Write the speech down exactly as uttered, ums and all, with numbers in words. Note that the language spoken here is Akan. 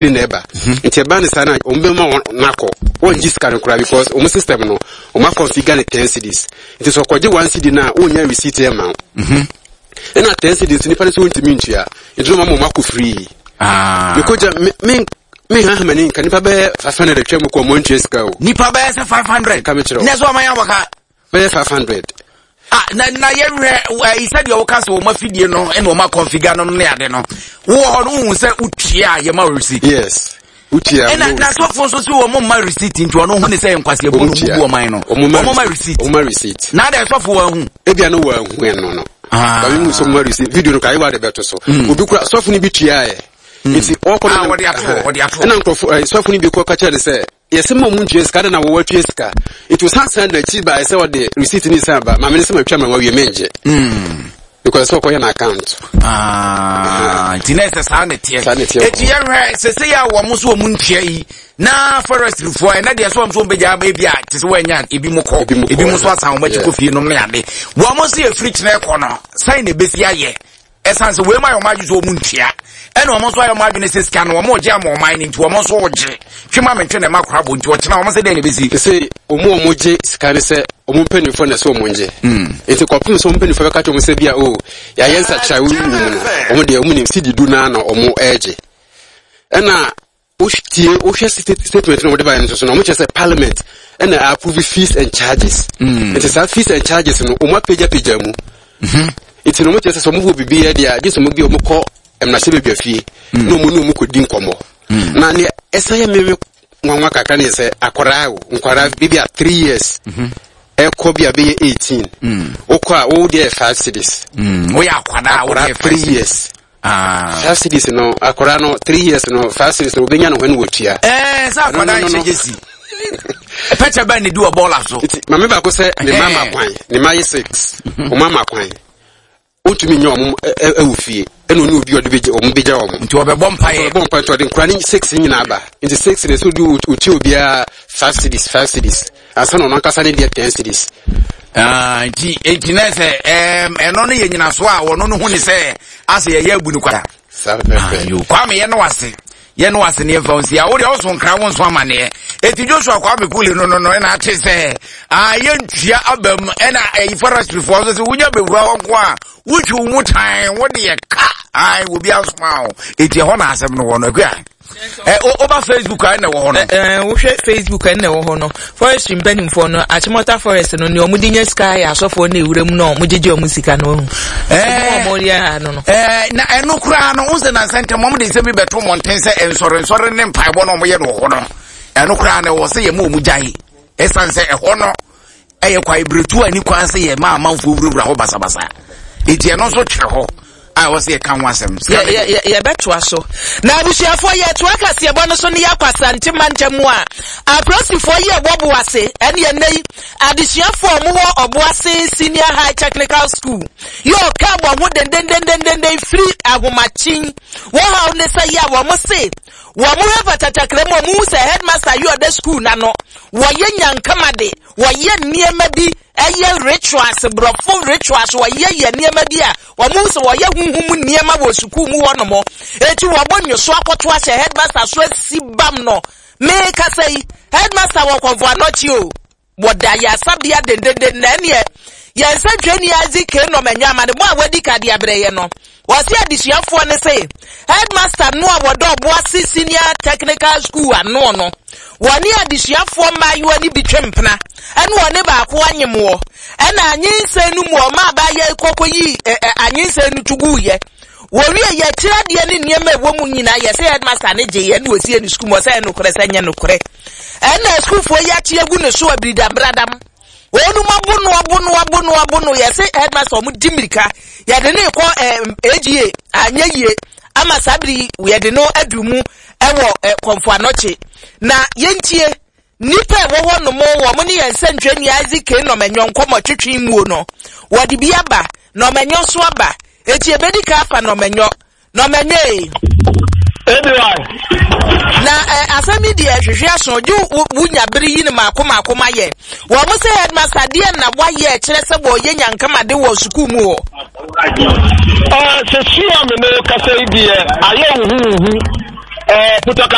Ne na ɛba nti ɛba ne saa na wɔn bɛma wɔn n'akɔ, wɔn gye sika no koraa, because wɔn system no, wɔn akɔnfigure ne ten cedis. Nti sɛ ɔkɔgye one cedi na wɔnya receipt yɛ ma wo, ɛna ten cedis nipa no sɛ wɔntumi ntua, nti wɔn ama wɔn akɔ free. Ah. Mekɔgya me me me ha mani nka nipa bɛyɛ five hundred atwa mu kɔ, ɔmo ntua sika o. Nipa bɛyɛ sɛ five hundred? Ka mekyerɛ wo. Na sɛ ɔma yɛ abɔka. Bɛyɛ five hundred. Ah, na na yɛhwɛ ɛyi, sɛdeɛ woka sɛ wɔma fidie no ɛna wɔma configure no ne ade no, wowɔ hɔ no, wohu sɛ wotua a yɛma wo receipt? Yes, wotua. Ɛna na sɔfo nso sɛ wɔn mma receipt, nti ɔno hu ne sɛ nkwasi ebu no mu bu ɔman no, wɔn ma receipt? Ɔmo ma receipt. Na adɛ sɔfo wɔn hu? Ebia no wɔ ahu ɛno no. Ah. Baabi mu sɛ ɔmo ma receipt, video no ka ayewa de bɛto so. Obi kura sɔfo no bi tua yɛ nti ɔkɔ no. Ah, wɔde ato hɔ, wɔde ato hɔ. Ɛna nkurɔfo ɛɛ sɔfo no bi kɔ ka kyerɛ ne sɛ yɛsɛ ma ɔmo ntua sika de na wɔwɔ atua sika, nti osan san n'akyi ba sɛ ɔde receipt ne san ba maame ne sɛ ma twa ma wawie, mɛngye, because sɛ ɔkɔyɛ n'account. Ah, nti na ɛsɛ saa ne teɛ. Saa ne teɛ. Eti yɛhwɛ sese yɛ a wɔn nso wɔn ntua yi na forestryfoɔ ɛnɛ deɛ so wɔn nso wɔn bɛgya aba ebi a te sɛ wɔanya ebi mu kɔ, Ebi mu kɔ, ebi mu nso asan wɔn akyi yeah. kɔ fie nom ne ade. Wɔn nso yɛ firi kyerɛ kɔ no sɛn na ebesi ayɛ, ɛsan sɛ wɔn mu ayɛ wɔn adwene sɛ wɔn ntua, ɛna wɔn nso ayɛ wɔn adwene sɛ sika no wɔn regye ama ɔman no, nti wɔn nso regye twema mentwe na ɛma kora bɔ, nti ɔkyena wɔn sɛ dɛn na ebesi? Te sɛ ɔmo a ɔmo gye sika ne sɛ ɔmo mpanimfoɔ na ɛsɛ ɔmo ngye, nti kɔpem sɛ ɔmo mpanimfoɔ bɛka kyerɛ ɔmo sɛ bi a o yɛayɛ nsakyera wo mu no, ɔmo deɛ ɔmo nim sidi du naa na ɔmo ɛɛgye. Ɛna wotie, wohwɛ state- statement na ɔmo de baeɛ no nso so no, ɔmo kyerɛ sɛ Parliament ɛna approve fees and charges, nti saa fees and charges no, ɔmo apagyapagya mu, nti na ɔmo kyerɛ sɛ sɛ ɔmo wɔ biribi yɛ deɛ a, gye sɛ ɔmo bi ɔmo kɔ mmarahyɛbadwa fie na ɔmo ne ɔmo kɔdi nkɔmmɔ. Na neɛ ɛsan yɛ meme nwanwa kakra ne yɛ sɛ akwaraa o, nkwaraa bi a three years ɛkɔ bi a bɛyɛ eighteen, wokɔ a wo deɛ yɛ five cedis. Woyɛ akwadaa a akwaraa woyɛ three years, Ah. five cedis no, akwaraa no three years no, five cedis no, obɛnya no hɔ ne wɔtua. Ɛɛ, sɛ akwadaa No, no, no, no. nhyɛ gyesi pɛkyɛ bɛn ne di wɔ bɔɔla so. Nti maame baako sɛ ne ma ma kwan, ne ma yɛ six, ɔmo ama kwan, ɔntumi nyɛ ɔmo ɛ- ɛ- ɛwɔ fie, ɛna ɔne obi a ɔde bɛgya ɔmo bɛgya ɔmo. Nti ɔbɛbɔ mpaeɛ. Ɔbɔ mpa, nti ɔde nkura ne six nyinaa ba, nti six ne so de otua obiara five cedis, five cedis, ansa na ɔno ankasa ne deɛ ten cedis. Ah, nti nti na sɛ ɛɛm ɛno no yɛ nyinaso a wɔno no hu ne sɛ asɛ yɛyɛ abu no kwada. Saa pɛpɛ. Ayo, Kwame, yɛ no ase, yɛ no ase ne yɛmfa wo nsi a wode ɔso nkra wo nso amanneɛ. Enti Joshua Kwame Kule no no no ɛna ate sɛ ah, yɛntua aba mu, ɛna ɛyi forestryfoɔ nso sɛ wonya bɛwura hɔ nko a wotwi wo mu tan, wode yɛ ka ai obi asoma wo. Enti ɛhɔ na asɛm no wɔ no. Akua ɛ wo- woba Facebook a, ɛna ɛwɔ hɔ no. Ɛɛ, wohwɛ Facebook a, ɛna ɛwɔ hɔ no, forestry mpanimfoɔ no, Achimota Forest no, nea ɔmo de nya sika yɛ asɔfoɔ no ewura mu na ɔmo gyegye ɔmo sika no ohu. Ɛɛ. Ɔmo yɛ ha no no. Ɛɛ, na ɛno koraa no, wo sɛ nansa ntɛm ɔmo de nsɛm bi bɛto mmɔnten sɛ nsɔre nsɔre ne mpaebɔ no ɔmo yɛ no wɔ hɔ no, ɛno koraa no ɛwɔ sɛ yɛma ɔmo gyae, ɛsiane sɛ ɛhɔ no ɛyɛ kwae beretu a ni kwan sɛ yɛma amanfoɔ wurawura hɔ basabasa, enti ɛno nso twerɛ hɔ a ɛwɔ sɛ yɛka ho asɛm. Yɛ- yɛ- yɛ- yɛbɛtoa so na abusuafoɔ, yɛtoa kaseɛbɔ no so ne yɛakɔ Asante mantam mu a apolisifoɔ yi ɛwɔ Boase, ɛne ɛnɛ yi adesuafoɔ a wɔwɔ Ɔboase Senior High Technical School yɛ ɔka wɔn ho dendendendenden firi ahomakyen. Wɔn haw ne sɛ yɛ a wɔn se wɔn hwɛ fatatakra mu a, wɔn hu sɛ headmaster yi ɔda school n'ano, wɔyɛ nyankama de wɔyɛ nneɛma bi, ɛyɛ rituals, borɔfo rituals, wɔyɛ yɛ nneɛma bi a wɔn hu sɛ wɔyɛ huhum nneɛma wɔ sukuu mu hɔnom. Eti wɔbɔ nyoso akɔto ahyɛ headmaster so asi bam no. Meekasa yi, headmaster wɔ Kɔnfɔ Anɔkye o, wɔda yasabea dendenden. Na ɛneɛ yɛn nsɛntwerɛni Isaac K. Nɔmɛnyɔ amanebɔ a wadi ka de abrɛ yɛ no, wɔsi adesuafoɔ ne se headmaster no a wɔdɔ Ɔboase Senior Technical School ano no, wɔne adesuafoɔ mmaayewa no bi twe mpena, ɛne wɔne baako anyemwoɔ, ɛna anyinsɛn no mu ɔma abaayɛ kɔkɔ yi ɛ ɛ anyinsɛn no tugu yɛ wɔwie yɛ kyerɛ ne nneɛma a ɛwɔ mu nyinaa. Yɛsɛ headmaster ne gye yɛ ne wɔsie ne sukuu mu. Ɔsɛ ɛnokorɛ sɛ nyɛ nokorɛ, ɛna sukuufoɔ yi akyi agu ne so abiridambradam, wɔn abo no, abo no, abo no, abo no. Yɛsɛ headmaster, ɔmo di mirika yɛde ne kɔ ɛɛ A G A, anyɛ yie ama saa bere yi yɛde no adu mu ɛwɔ ɛ Kɔnfo Anɔkye. Na yɛntie nipa a ɛwɔ hɔ nom, wɔn ne yɛn nsɛntwerɛni Isaac K. Nɔmɛnyɔ nkɔmɔ twetwe muo no, wɔde bi aba, Nɔmɛnyɔ so aba. Eti ebedi ka afa Nɔmɛnyɔ, Nɔmɛnyɔ ee. Ebi Na ɛ asɛm yi deɛ, hwehwɛ aso gye wo wonya bere yi ne maako maako ma yɛ. Wɔn mo sɛ headmaster deɛ na wayɛ kyerɛ sɛ wɔyɛ nyankamade wɔ sukuu mu hɔ. Sɛ sua me ne kasa yi deɛ, ayɛ huhuhu. ɛɛ putɔka.